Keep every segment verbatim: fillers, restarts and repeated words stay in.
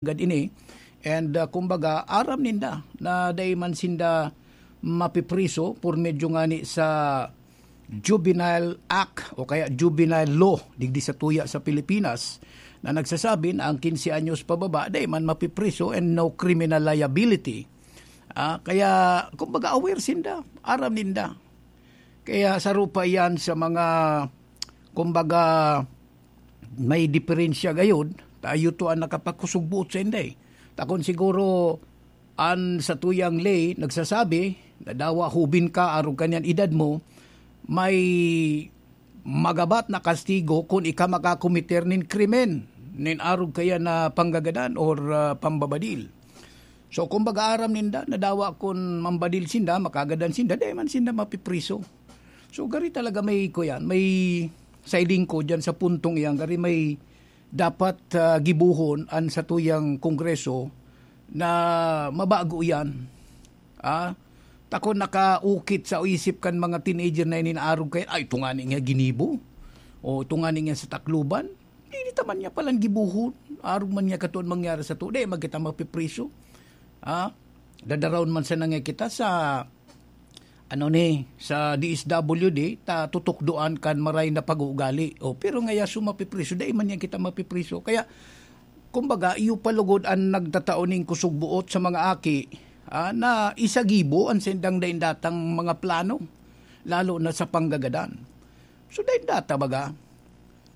gad ini. And, ah, kumbaga, aram ninda na dai man sinda mapipriso por medyo ngani sa Juvenile Act o kaya Juvenile Law digdi sa tuya sa Pilipinas na nagsasabi na ang quince anyos pababa dai man mapipriso and no criminal liability. Ah, kaya, kumbaga, aware sinda, aram ninda. Kaya saro pa iyan sa mga, kumbaga, may diferensya gayod, tayo to ang nakapakusog buot sa inday. Takon siguro, an sa tuyang lay, nagsasabi, na dawa hubin ka, arog kaniyan edad mo, may magabat na kastigo kun ika makakomiter nin krimen, nin arog kaya na panggagadan or, ah, pambabadil. So, kumbaga, aram ninda, na dawa kun mambadil sinda, makagadan sinda, dai man sinda mapipriso. So, gari talaga may, kuyan, may siding ko dyan sa puntong iyan, gari may dapat, ah, gibohon an satuyang Kongreso na mabago iyan. Ah, takon nakaukit sa isip kan mga teenager na ini na arog kaya, "Ay, ito nga ni nga ginibo. O, ito nga ni nga sa Tacloban." Di, di ta man niya palan gibohon. Arog man niya katuon mangyari sa tude, magkita mapipriso. Ah, dadarawon man sana nga kita sa, ano ni, sa D S W D, ta tutukdoan kan maray na pag-uugali. O, pero ngaya su mapipriso, dai man niya kita mapipriso. Kaya, kumbaga, iyo pa lugod an nagtatao ning kusog buot sa mga aki, ah, na isagibo an sindang daindatang mga plano, lalo na sa panggagadan. So, daindata baga,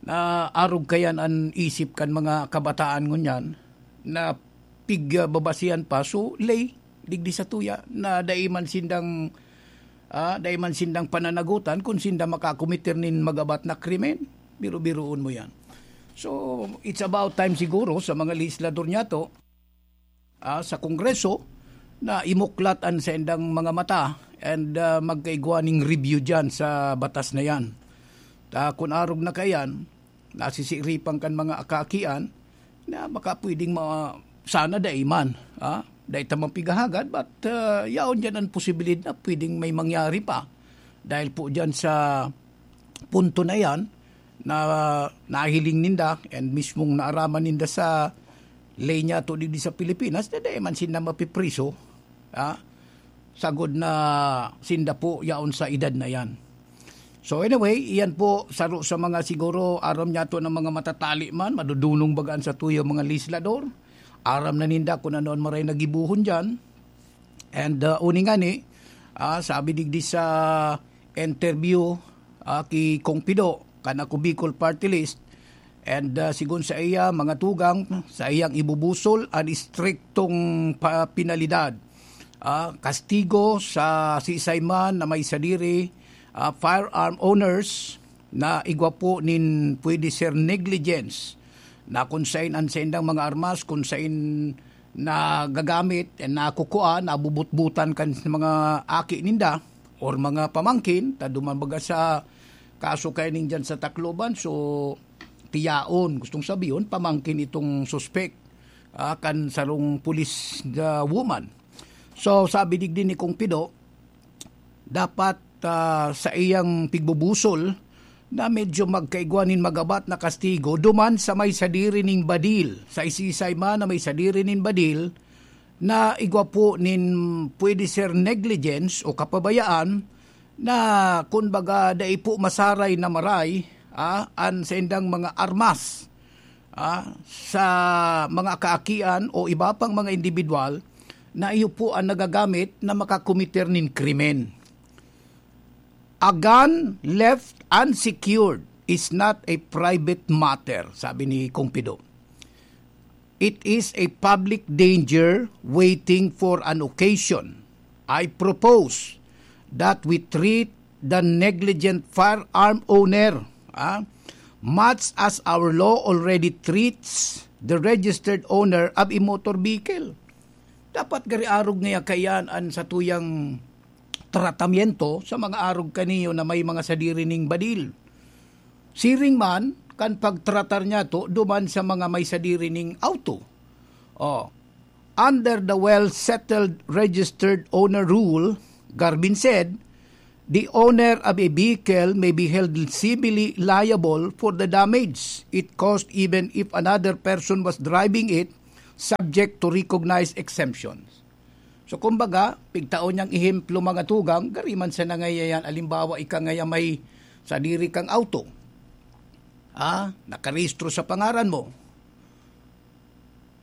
na arog kayan an isip kan mga kabataan ngunyan, na pigbabasihan pa, so, lay, digdi sa tuya, na dai man sindang, ah, dai man sindang pananagutan kung sinda makakometer nin magabat na krimen. Biro-biroon mo yan. So, it's about time siguro sa mga legislador niya to, ah, sa Kongreso, na imuklat an saindang mga mata and, ah, magkaigwa ning review dyan sa batas na yan. Ta, kun arog na kayan, nasisiripan kan mga akaakian na baka pwedeng ma-, sana dai man, ah, dai ta man pighahagad, but, ah, yaon dyan an posibilidad na pwedeng may mangyari pa. Dahil po dyan sa punto na yan na nahiling ninda and mismong naaraman ninda sa ley niya to digdi sa Pilipinas, na dai man sinda mapipriso, ah, sagod na sinda po yaon sa edad na yan. So anyway, iyan po, saro sa mga siguro aram niya to ng mga matatali man, madudunong bagaan sa tuyo mga legislador. Aram na ninda kung ano ang maray na gibuhon dyan. And, uh, uni ngani, ah, sabi digdi sa interview, ah, ki Kong Pido, kan Ako Bicol Party List, and, ah, sigon sa iya, mga tugang, sa iyang ibubusol an istriktong pa-, penalidad, ah, kastigo sa siisay man na may sadiri, ah, firearm owners na igwa po nin pwede ser negligence na kun sain an saindang mga armas, kun sain nagagamit, eh, nakukua, nabubutbutan kan mga aki ninda or mga pamangkin, ta duman baga sa kaso kaya ning dyan sa Tacloban, so, tiyaon, gustong sabihon, pamangkin itong suspek, ah, kan sarong pulis na woman. So, sabi digdi ni Kong Pido, dapat, ah, sa iyang pigbubusol na medyo magkaigwa nin magabat na kastigo duman sa may sadiri ning badil, sa isisay man na may sadiri nin badil na igwa po nin pwede ser negligence o kapabayaan na kun baga dai po masaray na maray, ah, an saindang mga armas, ah, sa mga kaakian o iba pang mga indibidwal na iyo po ang nagagamit na makakomiter nin krimen. "A gun left unsecured is not a private matter," sabi ni Kong Pido. "It is a public danger waiting for an occasion. I propose that we treat the negligent firearm owner, ah, much as our law already treats the registered owner of a motor vehicle." Dapat gari arog ngaya kayan an satuyang tratamiento sa mga arog kaniyo na may mga sadiri ning badil. Siring man kan pagtratar niya to duman sa mga may sadiri ning auto. Oh, under the well-settled registered owner rule, Garvin said, the owner of a vehicle may be held civilly liable for the damage it caused even if another person was driving it subject to recognized exemptions. So, kumbaga, pigtao niyang ehemplo, mga tugang, gari man sa nangayayan, alimbawa, ika ngaya may sadiri kang auto, ah, nakarehistro sa pangaran mo.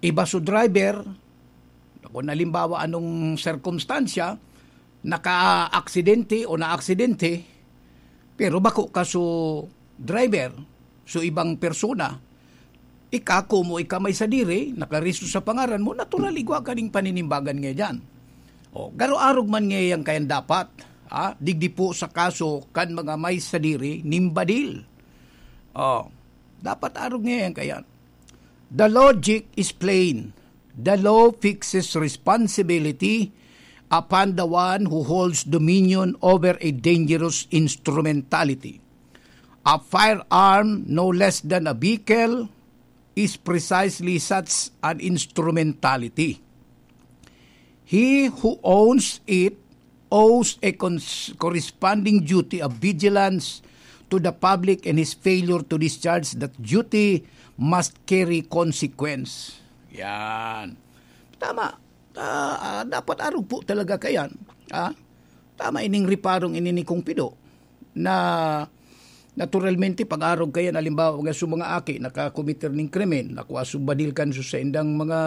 Iba so driver, kung halimbawa, anong sirkumstansya, naka-aksidente o naaksidente, pero bako ka so driver, so ibang persona, ika, komo ika may sadiri, nakarehistro sa pangaran mo, natural, igwa ka ning paninimbagan nga diyan. O, garo arog man nga yan kayan dapat, ha? Digdi po sa kaso kan mga may sadiri nin badil. O, dapat arog nga yan kayan. The logic is plain. The law fixes responsibility upon the one who holds dominion over a dangerous instrumentality. A firearm, no less than a vehicle, is precisely such an instrumentality. He who owns it owes a cons- corresponding duty of vigilance to the public, and his failure to discharge that duty must carry consequence. Yan. Tama. Ah, ah, dapat arog po talaga kayan. Ah, tama ining reparong ini ni Kong Pido na naturalmente pag-arog kayan, halimbawa, mga su mga aki nakakomiter ning krimen, nakua su badil kan su saindang mga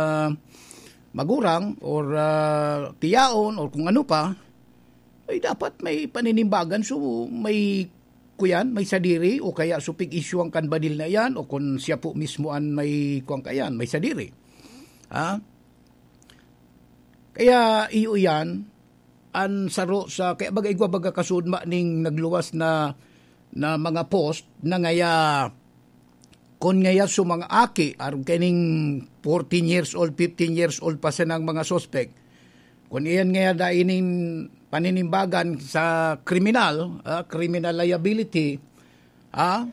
magurang or, ah, tiyaon or kung ano pa, ay dapat may paninimbagan su may kuyan, may sadiri o kaya su pig-isyuhan kan badil na iyan o kun siya po mismo an may kuwan kayan, may sadiri. Ha? Kaya iyo iyan, an saro sa, kaya baga igwa baga kasudma ning nagluwas na, na mga post na ngaya, kun ngaya su mga aki, arog kaining fourteen years old, fifteen years old pa sanang mga suspek, kun iyan ngaya dai nin paninimbagan sa kriminal, ah, criminal liability, ah,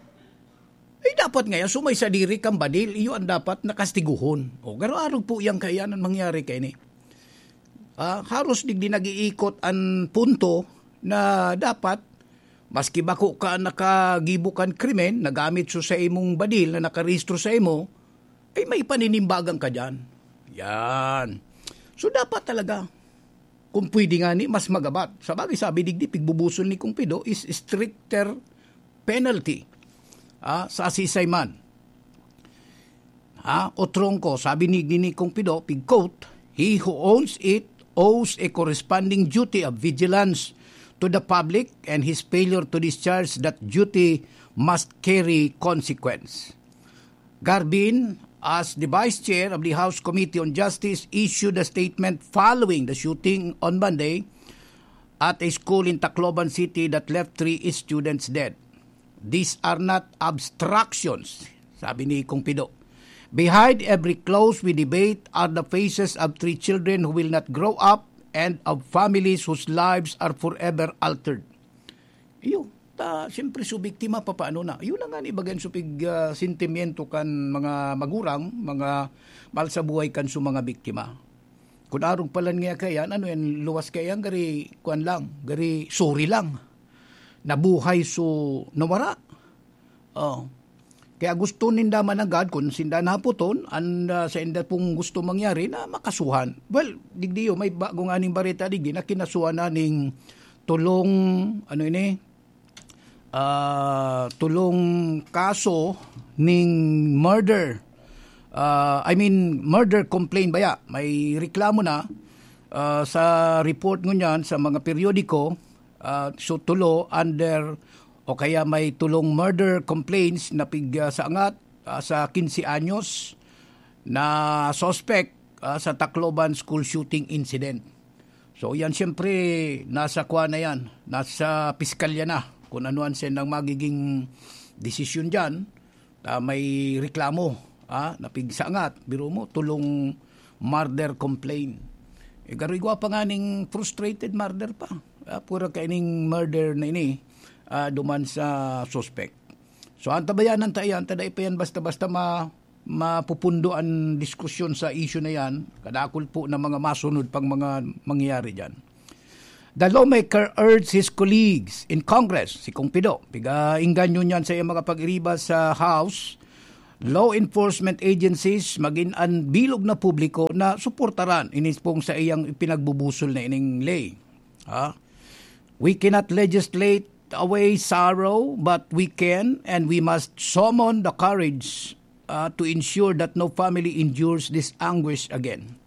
ay dapat ngaya su may sadiri kan badil, iyo an dapat na kastiguhon. O, garo arog po iyan kaiyan an mangyari kaini. Ah, haros digdi nag-iikot an punto na dapat, maski bako ka nakagibo kan krimen, nagamit su sa imong badil na nakarehistro sa imo, ay may paninimbagan ka diyan. Yan. So, dapat talaga, kung pwede ngani, mas magabat. Sabagay, sabi digdi, pigbubuson ni Kong Pido is stricter penalty, ah, sa asisay man. Ha? O trongko, sabi ni, ni Kong Pido, pig-quote, "He who owns it owes a corresponding duty of vigilance to the public, and his failure to discharge that duty must carry consequence." Garbin, as the Vice Chair of the House Committee on Justice, issued a statement following the shooting on Monday at a school in Tacloban City that left three students dead. "These are not abstractions," sabi ni Kong Pido. "Behind every close we debate are the faces of three children who will not grow up and of families whose lives are forever altered." Iyo, ta, siyempre, su biktima, papaano na? Iyo na nga ni bagan su pig, ah, sentimiento kan mga magurang, mga mahal sa buhay kan su mga biktima. Kun arog pa lang niya kaiyan, ano yan, luwas kaiyan, gari, kuwan lang, gari, sorry lang. Nabuhay su nawara. Oh. Kaya gusto ninda managad, kun sinda naputon, an, ah, sa inda pong gusto mangyari na makasuhan. Well, digdi yo, may bago nga ning bareta digdi na kinasuhan na ning tulong, ano ini, ah, tulong kaso ning murder. Ah, I mean, murder complaint baya. May reklamo na, ah, sa report ngunyan sa mga periodiko, ah, so tulo under o kaya may tulong murder complaints na pig, ah, sa angat, ah, sa quince anyos na suspect, ah, sa Tacloban school shooting incident. So, yan siyempre nasa kuwan na yan, nasa piskalya na kung ano ang sendang magiging desisyon diyan. Ah, may reklamo, ah, na pigsangat, biro mo, tulong murder complaint. Eh, garo igwa pa nga ning frustrated murder pa. Ah, pura kaining murder na ini, ah, duman sa suspect. So, antabayanan ta yan, ta dai pa yan basta-basta ma-, mapupundo an diskusyon sa issue na yan. Kadakul po na mga masunod pang mga mangyayari dyan. The lawmaker urged his colleagues in Congress, si Kong Pido, piga-ingganyo niyan sa iyang mga pag-iriba sa House, law enforcement agencies, magin an bilog na publiko na suportaran ining pong sa iyang ipinagbubusol na ining ley. Ha? We cannot legislate away sorrow, but we can and we must summon the courage, uh, to ensure that no family endures this anguish again.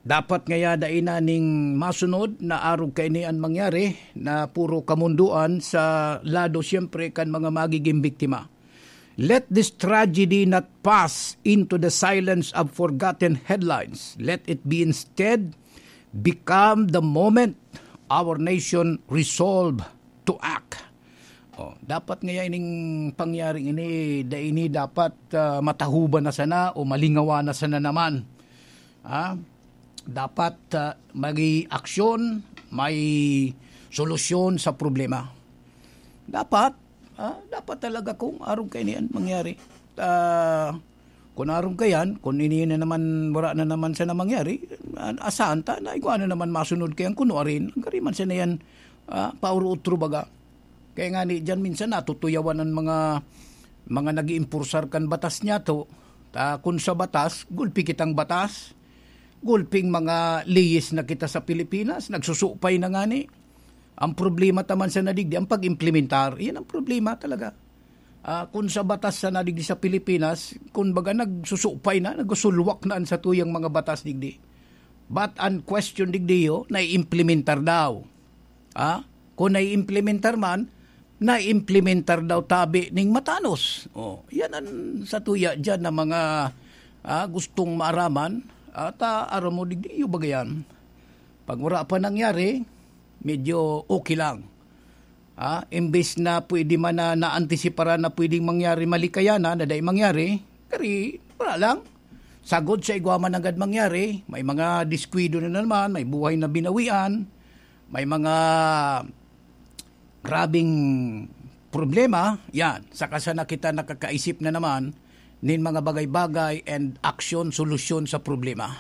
Dapat ngaya dai na ning masunod na arog kaini an mangyari, na puro kamundoan sa lado siyempre kan mga magiging biktima. Let this tragedy not pass into the silence of forgotten headlines. Let it be instead become the moment our nation resolve to act. Oh, dapat ngaya ining pangyaring ini, dai ini dapat, ah, matahuban na sana o malingawa na sana naman. Ah, dapat, ah, may aksyon, may solusyon sa problema. Dapat, ah, dapat talaga kung arog kaini an mangyari. Ah, kung arog kaiyan, kung ini na naman, wala na naman sana mangyari, ah, asahan ta na igwa na naman masunod kaiyan kuno arin. Ang kariman sana yan, ah, pauro-utro baga. Kaya nga ni, diyan minsan natutuyawan ang mga, mga nag-iimpursar kan batas niya to. Ta, kun sa batas, gulpi kitang batas. Gulping mga leyes na kita sa Pilipinas, nagsusupay na nga ni. Ang problema taman sa nadigdi, ang pag-implementar. Yan ang problema talaga. Ah, kun sa batas sa nadigdi sa Pilipinas, kun baga nagsusupay na, nagsulwak na an satuyang mga batas digdi. But an question digdi yo, naiimplementar daw. Ah, kun naiimplementar man, naiimplementar daw tabi ning matanos. Oh, yan ang satuya diyan na mga, ah, gustong maaraman. At, ah, aram mo, digdi yo baga yan. Pag wala pa nangyari, medyo okay lang. Ah, imbes na pwede man na naantisiparan na pwedeng mangyari, malikayan na, na dai mangyari, kari, wala lang. Sagod sa igwa man nanggad mangyari, may mga diskuido na naman, may buhay na binawian, may mga grabing problema, yan. Saka sana kita nakakaisip na naman nin mga bagay-bagay and aksyon, solusyon sa problema.